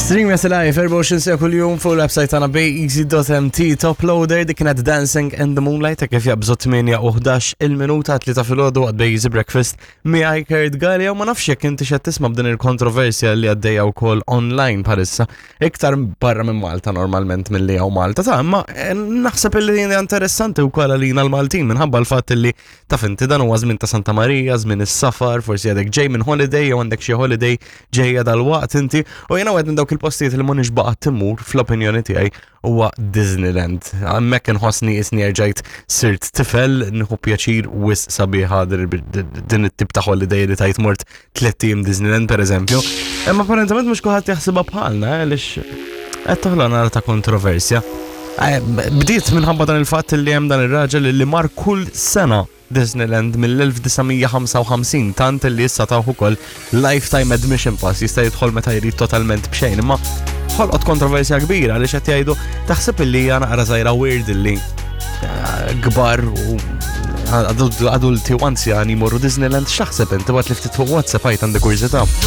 Stream Yes Live 24 sija kuljum fuq il-website tagħna bayeasy.mt. Top Loader dik kienet Dancing in the Moonlight ta' kif jabżu 8 u 11 il-minuta tlieta filgħodu għad Bay Easy Breakfast miegħi Kurt Gallia u ma nafx jekk inti xed tisma' b'din il-kontroversja li għaddejja wkoll online bħalissa iktar barra minn Malta normalment milli hawn Malta ta' imma eh, naħseb illi hija interessanti wkoll għalina l-Maltin minħabba l-fatt li taf inti dan huwa żmien ta' Santa Marija, żmien is-safar, forsi għadek ġej minn holiday jew għandek xi holiday ġejja dal-waqt inti u jiena wieħed minn dawk il-postijiet li m'għandix baqa' timur fl-opinjoni tiegħi huwa Disneyland. Hemmhekk inħossni isni erġajt sirt tifel, nieħu pjaċir wis sabiħa din it-tip ta' holiday li tajt mort tlett ijiem Disneyland pereżempju. Imma apparentement mhux kulħadd jaħsibha bħalna eh, għaliex qed toħloq nara ta' kontroversja. Eh, bdiet minħabba dan il-fatt li hemm dan ir-raġel li mar kull sena Disneyland mill-1955 tant li issa tawh ukoll lifetime admission pass jista' jidħol meta jrid totalment b'xejn imma ħolqot kontroversja kbira għaliex qed jgħidu taħseb illi hija naqra żgħira weird illi eh, kbar u adulti u anzjani jmorru Disneyland x'taħseb inti waqt li ftit fuq WhatsApp għajt għandi kurżità.